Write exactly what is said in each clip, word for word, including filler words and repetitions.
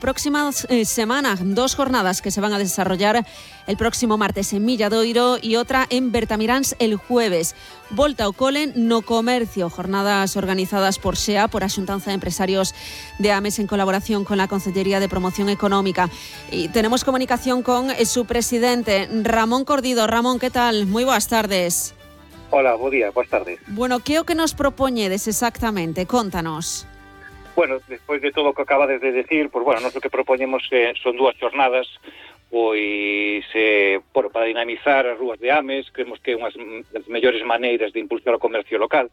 Próxima eh, semana, dos jornadas que se van a desarrollar el próximo martes en Milladoiro y otra en Bertamiráns el jueves. Volta ao cole no comercio, jornadas organizadas por S E A, por a Xuntanza de Empresarios de Ames en colaboración con la Consellería de Promoción Económica. Y tenemos comunicación con su presidente, Ramón Cordido. Ramón, ¿qué tal? Moi boas tardes. Hola, bo día, boas tardes. Bueno, que é o que nos propoñedes exactamente? Contanos. Bueno, despois de todo o que acabades de decir, pues bueno, nós o que propoñemos eh, son dúas jornadas, pois eh, por, para dinamizar as rúas de Ames, creemos que é unha das mellores maneiras de impulsar o comercio local,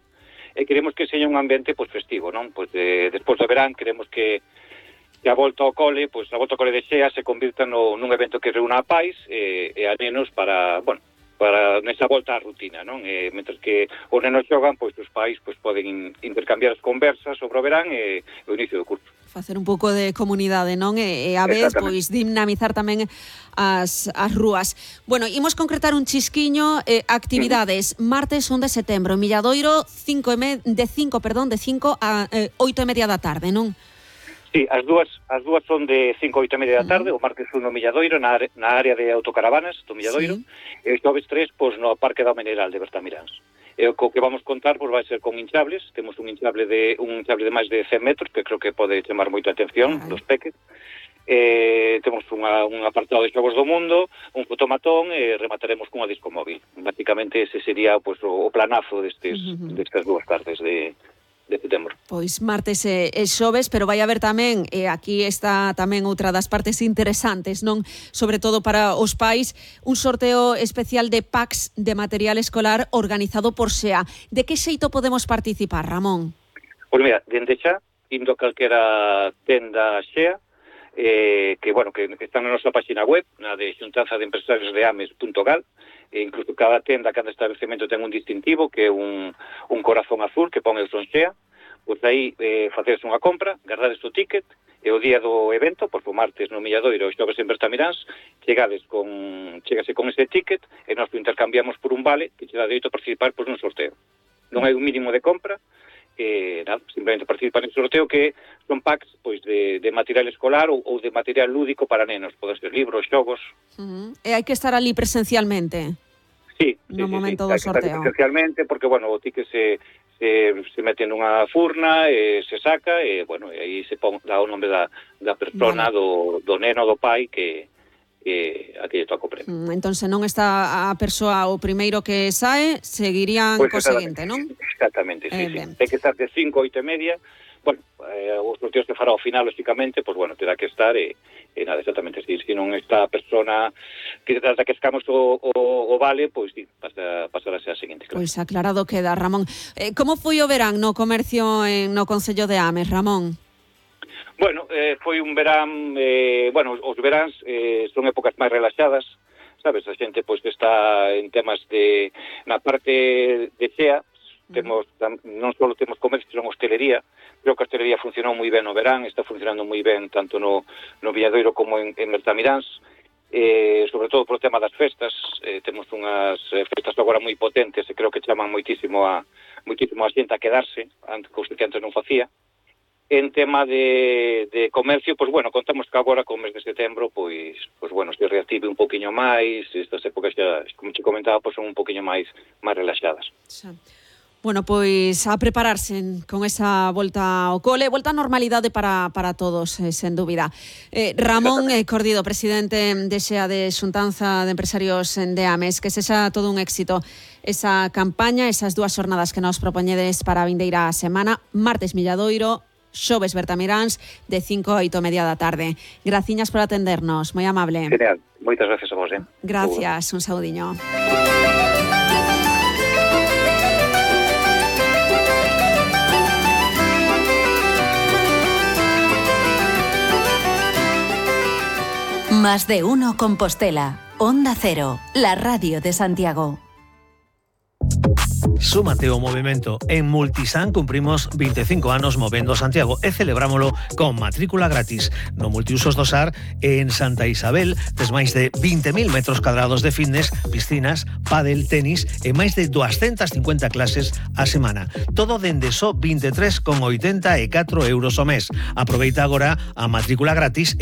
e queremos que seña un ambiente pues, festivo, non? Pois de, despois do verán, queremos que, que a volta ao cole, pois a volta ao cole de Xea se convirta no, nun evento que reúna a pais e, e a nenos para, bueno, para nesa volta á rutina, non? E, mentre que os nenos xogan, pois os pais pois, poden intercambiar as conversas sobre o verán e o inicio do curso. Facer un pouco de comunidade, non? E, e a vez, pois, dinamizar tamén as, as rúas. Bueno, imos concretar un chisquiño, eh, actividades, uh-huh. martes un de setembro, Milladoiro, cinco e me, de cinco, perdón, de cinco a eh, oito e media da tarde, non? Sí, as dúas as dúas son de cinco a oito e media da tarde, uh-huh. o martes un no Milladoiro, na, na área de autocaravanas do Milladoiro, sí. E o xoves tres, pois, no Parque da Mineral de Bertamiráns. E o que vamos contar, pois, vai ser con hinchables, temos un hinchable de un hinchable de máis de cen metros, que creo que pode chamar moita atención, uh-huh. dos peques. Eh, temos unha, un apartado de xogos do mundo, un fotomatón e remataremos cunha disco móvil. Básicamente ese sería pois, o, o planazo destes, uh-huh. destas dúas tardes de... de setembro. Pois martes e, e xoves, pero vai haber tamén, e aquí está tamén outra das partes interesantes, non? Sobre todo para os pais, un sorteo especial de packs de material escolar organizado por S E A. De que xeito podemos participar, Ramón? Pois mira, dende xa, indo a calquera tenda S E A, eh, que, bueno, que están na nosa página web, na de xuntanza de empresarios de ames punto gal, e incluso cada tenda, cada establecemento ten un distintivo que é un, un corazón azul que pon el son Xea, pois aí eh, facedes unha compra, guardades o ticket e o día do evento, pois o martes no Milladoiro e xoves en Bertamiráns, chegades con, chegase con ese ticket e nós lo intercambiamos por un vale que che dá dereito a participar pois, nun sorteo. Non hai un mínimo de compra, eh, nada, simplemente participar en sorteo que son packs pois, de, de material escolar ou, ou de material lúdico para nenos, poden ser libros, xogos. Uh-huh. E hai que estar ali presencialmente? Sí, no sí, momento sí, do hai que sorteo. estar presencialmente, porque, bueno, o ticket se, se, se mete nunha furna, e se saca, e, bueno, e aí se pon, dá o nome da, da persona, vale. do, do neno, do pai, que... que a que lle toca o premio. Mm, entón, se non está a persoa o primeiro que sae, seguirían pues co seguinte, non? Exactamente, sí, eh, sí. Ten que estar de cinco a oito e media. Bueno, eh, os sorteos que fará ao final, lógicamente, pues bueno, terá que estar e, e nada, exactamente, si, si non está a persona que trata que escamos o, o, o vale, pois pues, sí, pasa, pasará a ser a seguinte. Claro. Pois pues aclarado queda, Ramón. Eh, como foi o verán no comercio en, no Concello de Ames, Ramón? Bueno, eh, foi un verán, eh, bueno, os veráns eh, son épocas máis relaxadas, sabes, a xente pois está en temas de, na parte de Xea, temos, non só temos comercio, senón hostelería, creo que a hostelería funcionou moi ben no verán, está funcionando moi ben tanto no, no Milladoiro como en, en Bertamiráns, eh, sobre todo por tema das festas, eh, temos unhas festas agora moi potentes e creo que chaman moitísimo a, moitísimo a xente a quedarse, antes, cousa que antes non facía. En tema de, de comercio, pois, bueno, contamos que agora con o mes de setembro, pois, pois bueno, se reactive un poquinho máis, estas épocas xa, como te comentaba, pois son un poquinho máis máis relaxadas. Xa. Bueno, pois a prepararse con esa volta ao cole, volta á normalidade para, para todos, eh, sen dúbida. Eh, Ramón eh, Cordido, presidente de Xea de Xuntanza de Empresarios de Ames, que sexa todo un éxito esa campaña, esas dúas jornadas que nos propoñedes para a vindeira semana, martes Milladoiro, xoves Bertamiráns, de cinco a oito e media da tarde. Graciñas por atendernos, moi amable. Genial, moitas gracias a vos. Eh? Gracias, un saudiño. Más de uno Compostela, Onda Cero, la radio de Santiago. Súmate ao movimento. En Multisan cumprimos veinticinco anos movendo Santiago e celebrámolo con matrícula gratis. No Multiusos do Sar, en Santa Isabel, tes máis de vinte mil metros cuadrados de fitness, piscinas, pádel, tenis e máis de doscientas cincuenta clases a semana. Todo dende só veintitrés con oitenta e catro euros ao mes. Aproveita agora a matrícula gratis e